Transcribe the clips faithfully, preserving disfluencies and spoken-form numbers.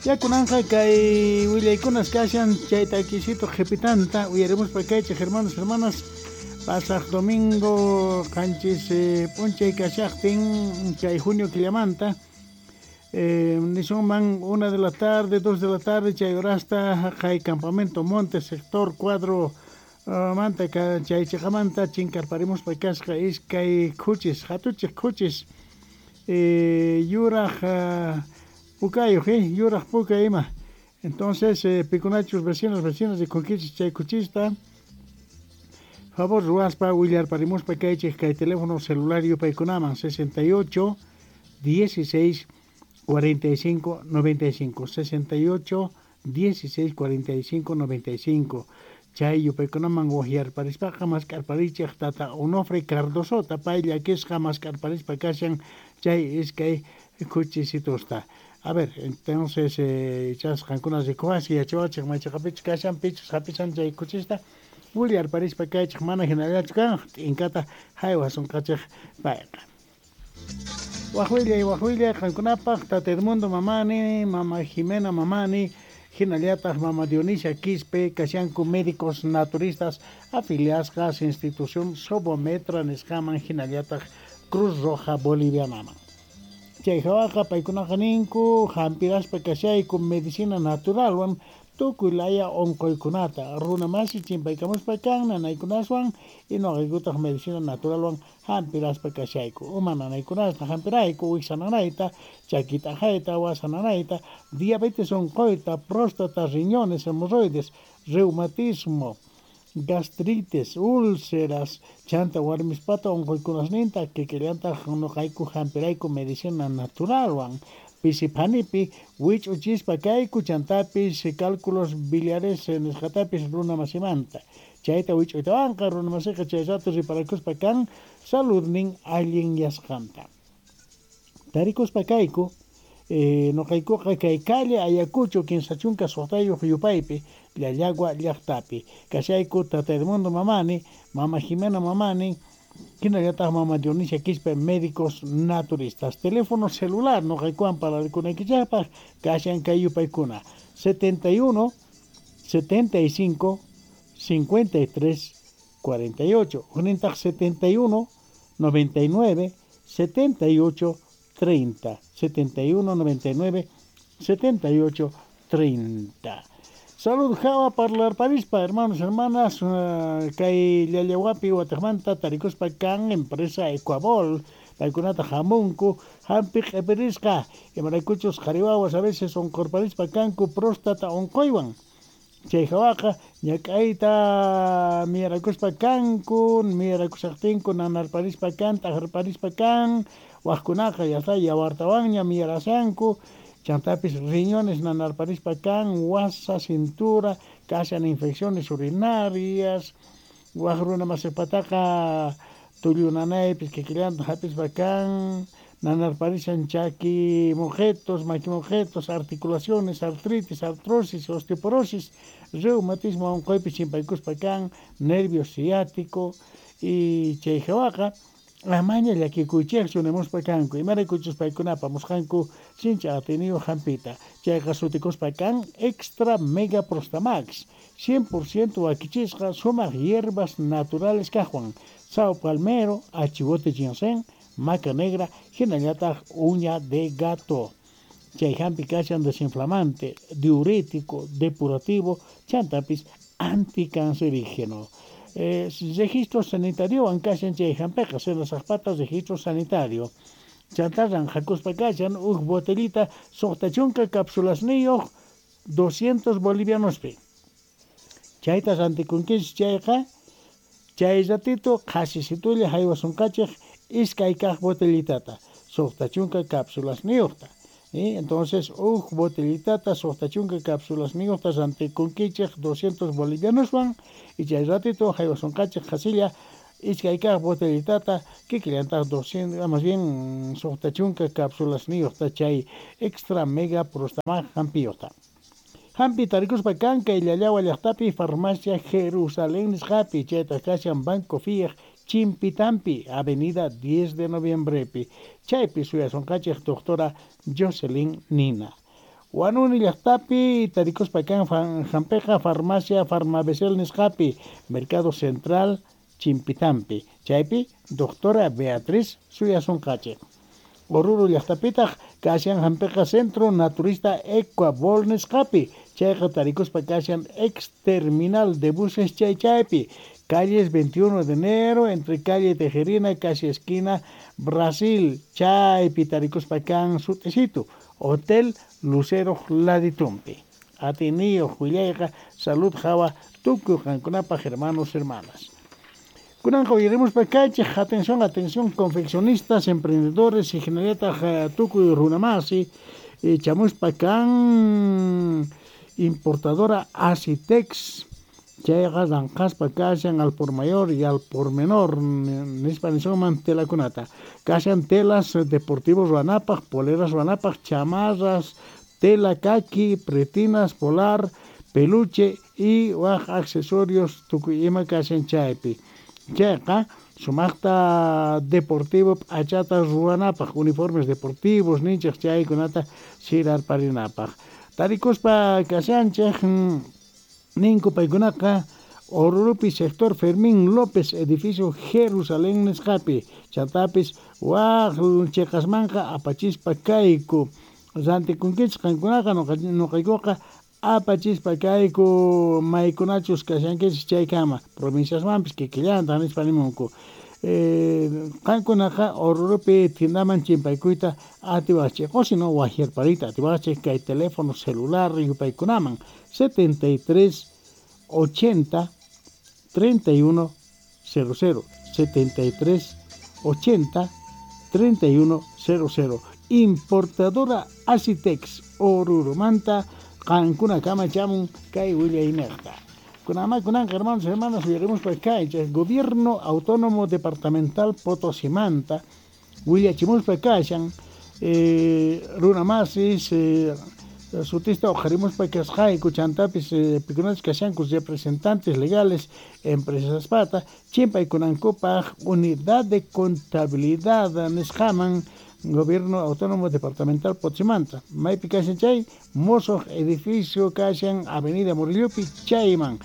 Ya kunanqa kay willaykunas kashan chayta kisito qhipitanta uyarimuspa kaychik, hermanos, hermanas. Pasaq domingo qanchis eh, p'unchay kashaqtin chay junio killamanta, eh, nisunman una de la tarde, dos de la tarde, chay horasta haqay campamento Monte, sector cuadro uh, manta chay chiqamanta chinkarparimuspa kasqa iskay khuchis, hatuchiq khuchis, eh, yuraq uh, pukayuq, eh, yuraq puka ima. Entonces, eh, pikunachus vecinos, vecinas rikunkichis chay khuchista, favor ruwaspa willarparimuspa kaychik kay teléfono celular yupaykunaman: sesenta y ocho dieciséis cuarenta y cinco noventa y cinco, sesenta y ocho dieciséis cuarenta y cinco noventa y cinco. Chay yupaykunaman waqyarparispaqa mask'arparichik tata Onofre Cardosota, pay llakisqa mask'arparispa kashan chay iskay khuchisitusta. A ver, entonces, eh, ichas qankuna rikuwasi yachawachik maychiqapichus kashan, pichus hap'ishan chay khuchista, willarparispa kaychik. Mana hinallachu kan, t'inkata haywasunqachik payqa. Waq willay, waq willay qankunapaq: tata Edmundo Mamani, mama Jimena Mamani, hinallataq mama Dionisia Quispe kashanku médicos naturistas afiliasqas institución Sobometra nisqaman hinallataq Cruz Roja Bolivianaman. Chay hawaqa paykunaqa ninku: hampiraspa kashayku medicina naturalwan tukuy laya unquykunata. Runa masi chimpaykamuspa kan nanaykunaswan y nuqaykutaq medicina naturalwan hampiraspa kashayku. Uma nanaykunasta hampirayku, wiksa nanayta, chaki t'aqayta, wasa nanayta, diabetes unquyta, próstata, riñones, hemorroides, reumatismo, gastritis, úlceras, chanta warmispata unquykunasninta kikillantaq nuqayku hampirayku medicina naturalwan. Pisiphanipi wich'uchispa kayku, chantapis cálculos biliares nisqatapis runa masimanta. Chayta wich'uytawanqa runa masiqa chay rato riparakuspa kan saludnin allinyasqanta. Tarikuspa kayku eh, nuqaykuqa kay calle Ayacucho kinsa chunka suqtayuq yupaypi, Llallagua llaqtapi. Kashayku tata Edmundo Mamani, mama Jimena Mamani, hinallataq mama Dionisia Quispe, médicos naturistas. Teléfono celular nuqaykuwan parlarkunaykichikpaq kashan kay yupaykuna: setenta y uno setenta y cinco cincuenta y tres cuarenta y ocho, huknintaq setenta y uno noventa y nueve setenta y ocho treinta, setenta y uno noventa y nueve setenta y ocho treinta. Salud hawa parlarparispa, hermanos, hermanas, uh, kay Llallawapi wataqmanta tarikuspa kan empresa Ecuabol. Paykunata hamunku hampi q'ipirisqa, imaraykuchus qhari wawas a veces unqurparispa kanku próstata unquywan. Chay hawaqa ñak'ayta miyarakuspa kanku, miyarakushaqtinku nanarparispa kan, t'aqarparispa kan, waqkunaqa ya está yawartawanña miyarashanku. Chantapis riñones nanarparispa kan, wasa, cintura, kashan infecciones urinarias, waq runa masipataqa tullu nanaypis kikillanta hap'ispa kan, nanarparishan chaki muqetos, maki muqetos, articulaciones, artritis, artrosis, osteoporosis, reumatismo unquypis chimpaykuspa kan, nervio ciático. Y chay hawaqa amaña llakikuychikchu nimuspa kanku, imaraykuchus paykuna apamusqanku sinchi atiyniyuq hampita. Chayqa sutikuspa kan Extra Mega Prostamax, cien por ciento wakichisqa sumaq hierbas naturales kaqwan: sao palmero, achivote, ginseng, maca negra, hinallataq uña de gato. Chay hampi kashan desinflamante, diurético, depurativo, chantapis anticancerígeno. Eh, registro sanitario kashan chay hampiqa, senasaqpata registro sanitario. Chanta ranqhakuspa kashan huk botellita suqta chunka cápsulasniyuq doscientos bolivianospi. Chayta rantikunkichis chayqa, chay ratito qhasisitulla haywasunqachik iskay kaq botellitata suqta chunka cápsulasniyuqta. ¿Eh? Entonces, huk botellitata suqta chunka cápsulasniyuqta rantikunkichik doscientos bolivianoswan y chay ratito haywasunqachik qhasilla iskay kaq botellitata kikillantaq doscientos, más bien suqta chunka cápsulasniyuqta chay Extra Mega Prostamax hampiyuqta. Hampi tarikuspa kan kay Llallawa llaqtapi farmacia Jerusalén nisqapi, chaytaq kashan Banco Fiej Chimpitampi, avenida diez de Noviembrepi. Chaypi suyasunqachik doctora Jocelyn Nina. Huanuni llaqtapi tarikuspa kan hampiqa farmacia Farmabesel nisqapi Mercado Central Chimpitampi chaypi doctora Beatriz suyasunqachik. Oruro llaqtapitaq kashan hampiqa Centro Naturista Ecuabol nisqapi chayqa tarikuspa kashan ex terminal de buses chay chaypi calles veintiuno de enero entre calle Tejerina casi esquina Brasil chaypi tarikuspa kan sut'isitu Hotel Lucero Laditumpi. Atiniyuq willayqa salud hawa tukuy qankunapaq hermanos hermanas. Kunanqa uyarimuspa kaychik, atención, atención, confeccionistas, emprendedores, ingeniería tukuy runamasi, chamuspa kan importadora Asitex, chayqa ranqaspa kashan al por mayor y al por menor, nispa nisunman telakunata. Kashan telas deportivos ruanapaq, poleras ruanapaq, chamarras, tela kaki, pretinas, polar, peluche y waj accesorios tukuy ima kashan chaypi. Chayqa sumaqta deportivo p'achata ruwanapaq, uniformes deportivos ninchik chaykunata sirarparinapaq. Tarikuspa kashanchik ninku paykunaqa Orurupi sector Fermín López, edificio Jerusalén nisqapi, chantapis waj chiqasmanqa apachispa kayku. Rantikunkichik qankunaqa nuqaykuqa apachispa kayku maykunachus kashankichik chaykama provinciasmanpis kikillanta nispa nimunku. Qankunaqa Orurupi tiendaman chimpaykuyta atiwaqchik o sino wajyarpariyta atiwaqchik kay teléfono celular yupaykunaman setenta y tres ochenta treinta y uno cero cero setenta y tres ochenta treinta y uno cero cero. Importadora Asitex Orurumanta qankuna kama chamun kay willayniyqa. Kunama kunanqa hermanos hermanas uyarimuspa kaychik Gobierno Autónomo Departamental Potosimanta willachimuspa kashan eh, runamasis eh, sutista uqharimuspa kasqayku chantapis eh, pikunachus kashanku representantes legales empresas pata chimpaykunankupaq unidad de contabilidad nisqaman Gobierno Autónomo Departamental Potosimanta. Maypi kashan chay mosoq edificio kashan Avenida Murillopi chayman.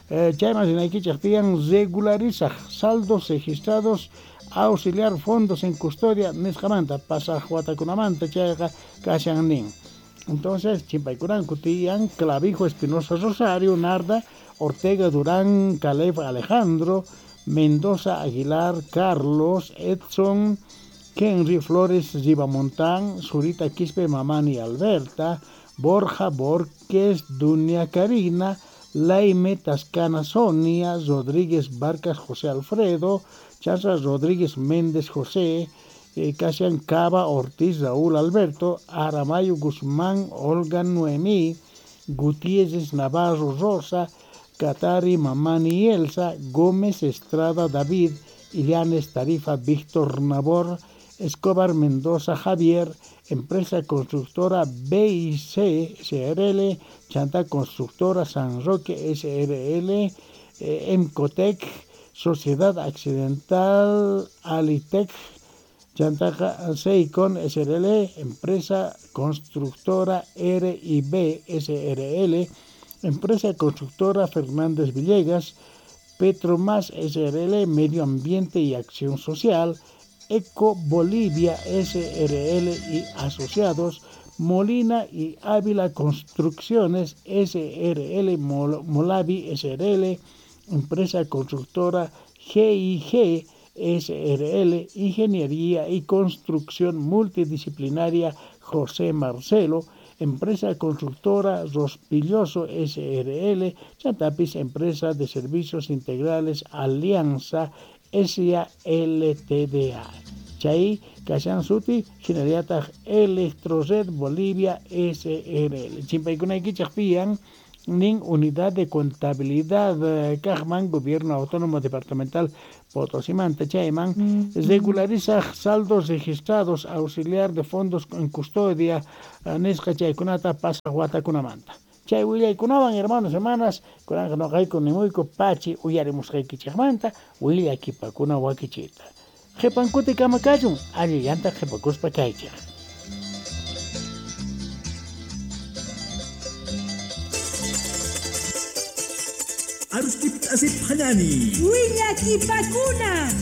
Eh, chayman rinaykichik tiyan regularizaq saldos registrados auxiliar fondos en custodia nisqamanta pasaq watakunamanta chayqa kashan nin. Entonces chimpaykunanku tiyan Clavijo Espinosa Rosario, Narda, Ortega Durán, Caleb Alejandro, Mendoza Aguilar, Carlos, Edson, Henry Flores Ribamontán, Zurita Quispe Mamani Alberta, Borja Borges, Dunia Karina, Laime Tascana Sonia, Rodríguez Barcas José Alfredo, Chaza Rodríguez Méndez José, eh, Casian Cava Ortiz Raúl Alberto, Aramayo Guzmán Olga Noemí, Gutiérrez Navarro Rosa, Catari Mamani Elsa, Gómez Estrada David, Illanes Tarifa Víctor Nabor, Escobar Mendoza Javier, Empresa Constructora B I C S R L, Chanta Constructora San Roque S R L, eh, Emcotec, Sociedad Accidental Alitec, Chantaja Seicon S R L, Empresa Constructora R I B S R L, Empresa Constructora Fernández Villegas, Petromas S R L, Medio Ambiente y Acción Social, Eco Bolivia S R L y Asociados, Molina y Ávila Construcciones S R L, Mol- Molavi S R L, Empresa Constructora G I G S R L, Ingeniería y Construcción Multidisciplinaria José Marcelo, Empresa Constructora Rospilloso S R L, Chantapis Empresa de Servicios Integrales Alianza S A L T D A. Chay, Kashan Suti, Generata Electrored Bolivia S R L. Chimpaykunaykichik piyan nin Unidad de Contabilidad Cajman, Gobierno Autónomo Departamental Potosimanta, chayman, regulariza saldos registrados, auxiliar de fondos en custodia, nisqa chaykunata pasaq watakunamanta. Chay willaykunawan, hermanos, hermanas, kunanqa nuqayku nimuyku pachi uyarimusqaykichikmanta willakipakuna wakichita. Qhipankuti kama kachun, allillanta qhipakuspa kaychik. Arustip asip hanani. Willakipakuna.